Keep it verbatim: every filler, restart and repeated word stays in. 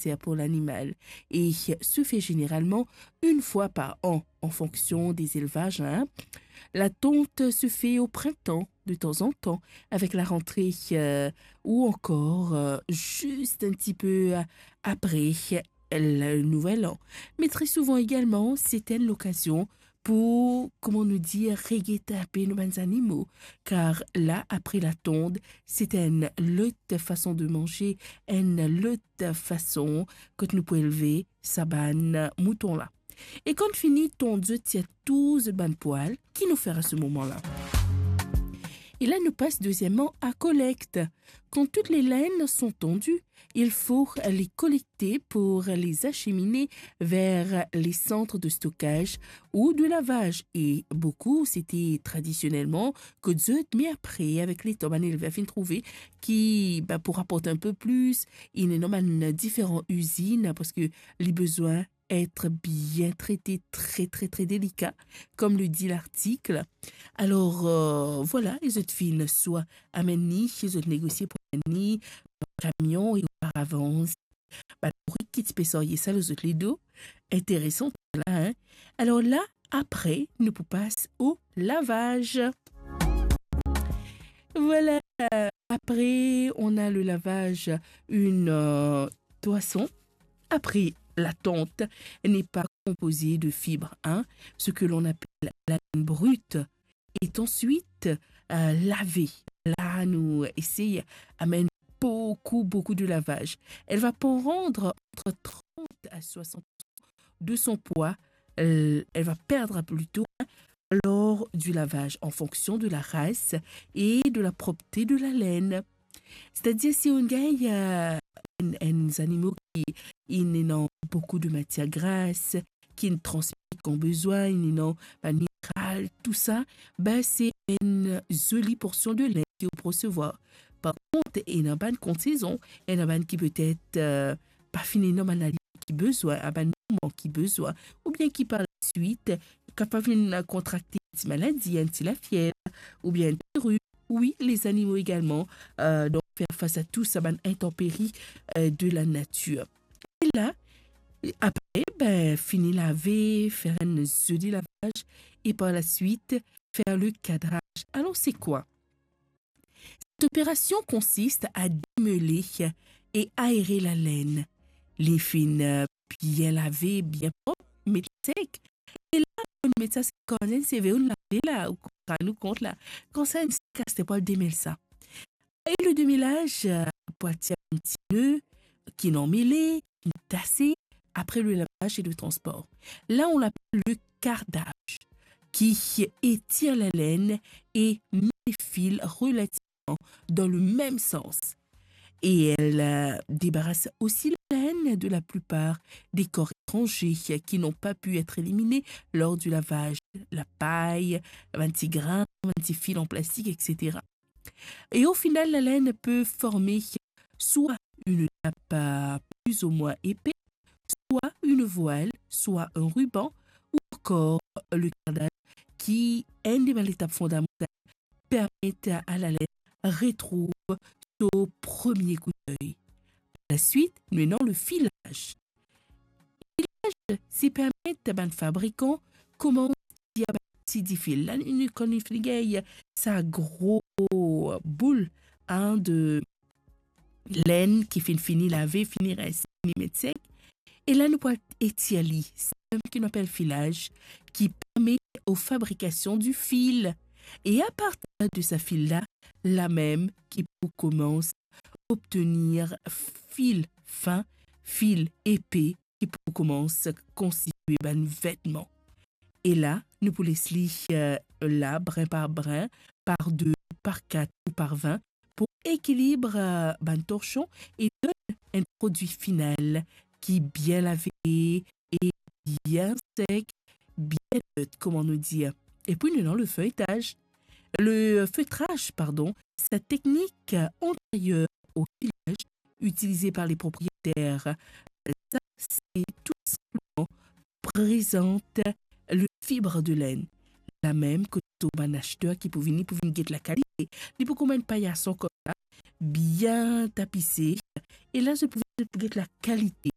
néseser pou lanimal e se fer zeneralman enn fwa par an, an fonksion de zelvaz, hein. La tonte se fait au printemps, de temps en temps, avec la rentrée, euh, ou encore, euh, juste un petit peu, euh, après le Nouvel An. Mais très souvent également, c'est une occasion pou, kouma nou dir, reget inpe nou bann zanimo, kar la, apre la tonte, se enn lot fason de manze, enn lot fason kot nou pou elve sa bann mouton la. E kan fini tond zot tir tou zot bann pwal, ki nou fer a se moman la? E la nou pas dezieman a kolekt. Quand toutes les laines sont tondues, il faut les collecter pour les acheminer vers les centres de stockage ou de lavage. E boukou, se te tradisionelman kot zot, me apre, avek letan, bann elver finn trouve ki, ba, pou raport inpe plis, inn ena bann diferan izinn, parski li bizin et bien trete, tre, tre, tre delika, kom le di lartik. Alor, euh, vwala, e zot finn swa amenn li, e zot negosie pou amenn li dan kamion e oparavans, bann bourik ki ti pe sarye sa lor zot ledo. Interesan la, hein? Alor la, apre, nou pou pas o lavaz. Voilà, euh, après, on a le lavage, une, euh, toison. Après, la tonte n'est pas composée de fibres, hein, ce que l'on appelle la laine brute, est ensuite, euh, lavée. La, nou esey amenn beaucoup, beaucoup de lavage. Elle va prendre entre trente à soixante de son poids. Euh, elle va perdre plutôt, hein, lors du lavage en fonction de la race et de la propreté de la laine. C'est-à-dire, si ou gagn, euh, enn, enn zanimo ki inn ena beaucoup de matière grasse, ki inn transmet kan bizin, inn ena bann mineral, tou sa, ben, se enn zoli porsion de laine ki ou pou resevwar. Par kont, ena bann kont sezon, ena bann ki petet, euh, pa finn ena bann aliman ki bizin, a bann moman ki bizin, oubien ki par laswit kapav vinn kontrakte enn ti maladi, enn ti lafiev, oubien enn ti rum. Wi, lezanimo egalman, euh, donk, fer fas a tou sa bann intanperi, euh, de la natir. E la, apre, ben, fini lave, fer enn zoli lavaz, e par laswit, fer le kadraz. Alor, se kwa? Cette opération consiste à démêler et aérer la laine. Li finn, euh, bien lave, bien prop, met sek. E la, nou met sa, se kan enn seve ou lave la, ou konpran, nou kont la. Kan sa inn sek, aster pou al demel sa. E le demêlage, euh, pou atir enn ti ne ki inn anmele, ki inn tase, après le lavage et le transport. Là, on l'appelle le cardage, qui étire la laine et met les fils relativement dans le même sens. Et elle, euh, débarrasse aussi la laine de la plupart des corps étrangers qui n'ont pas pu être éliminés lors du lavage, la paille, bann ti grin, bann ti fil en plastique, et cetera. Et au final, la laine peut former soit une nappe, euh, plus ou moins épais, soit une voile, soit un ruban, ou encore le cardage, ki enn de bann letap fondamantal, permet à la laine retrouve son premier coup d'œil. Par la suite, nou ena le filage. Filage, se permet bann fabrikan koumans tir bann ti difil. La, nou, kan nou finn gagn sa gro boul, hein, de laine ki finn fini lave, fini rense, fini met sek. E la, nou pou etir li, sa mem ki nou apel filage, qui permet aux fabrications du fil. Et à partir de ce fil-là, la mem ki pou koumans obtenir fil fin, fil epe, ki pou koumans konstitwe bann vetman. E la, nou pou les li, euh, la, brin par brin, par de, par kat ou par vin, pou ekilib, euh, bann torsion e donn enn prodwi final ki bien lave e bien sek, bien net, kouma nou dir. E pi nou ena le feuilletage. Le feutrage, pardon, cette technique antérieure au filage utilisée par les propriétaires. Ça, c'est tout simplement présente le fibre de laine. La mem kot bann aster ki pou vini, pou vinn get lakalite. Li pou kouma enn payason kouma bien tapise. E la, zot pou, zot pou get lakalite